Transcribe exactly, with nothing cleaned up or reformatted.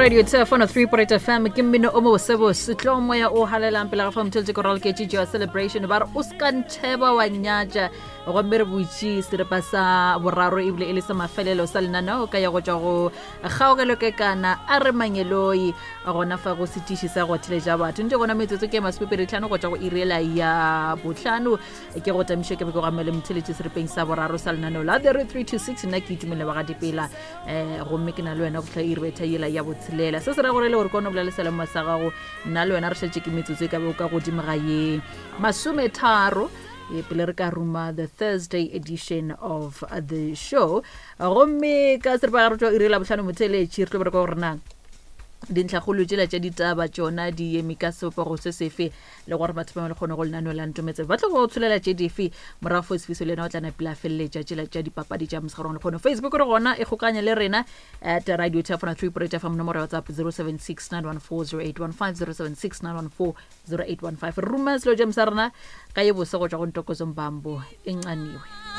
Radio Turf one oh three point eight F M, ke mmino o mobosebose tlo moya o halelang pele ga fa motheletse ko raloketše joa celebration. Ba re o ska ntheba wa nyatša, gomme re butše seripa sa boraro ebile e le sa mafelelo sa lenaneo ka ya go tšwa go kgaogelo kekana a re mangeloi gona fa go setiši sa go theletša batho ntse gona. Metsotso ke masomepedi tlhano go tšwa go iriela ya botlhano. Ke go tamiše ke be ke go amele motheletše seripeng sa boraro sa lenaneo la The three two six. Nna ke itumele ba ga dipela um gomme ke na le wena go tlha iri betha yela ya botshelela. Se se ra gore le gore kone bolela le selemo sa gago, nna le wena re šetše ke metsotso e ka be o ka godimo ga ye masometharo e pele re ka ruma the Thursday edition of the show. Gomme ka seripa ga re tšwa iri la bohlano, motheletši, re tlo bereka gore na dintlhakgolo tšela tša ditaba tšona di eme ka sebopego se sefe, le gore batho ba le kgone go lenaneo la ntometse ba tlo go tsholela tše dife morago. Fo sefiso le yena o tla napile a feleletša tšela tša dipapadi tša mosegarong le kgone. Facebook re gona, e kgokanye le rena at Radio Turf three F M. Nomoro ya WhatsApp zero seven six nine one four zero eight one five, zero seven six nine one four zero eight one five. Re ruma selo jam sa rena ka ye bose go tšwa go Ntokozo Mbambo, e ncaniwe.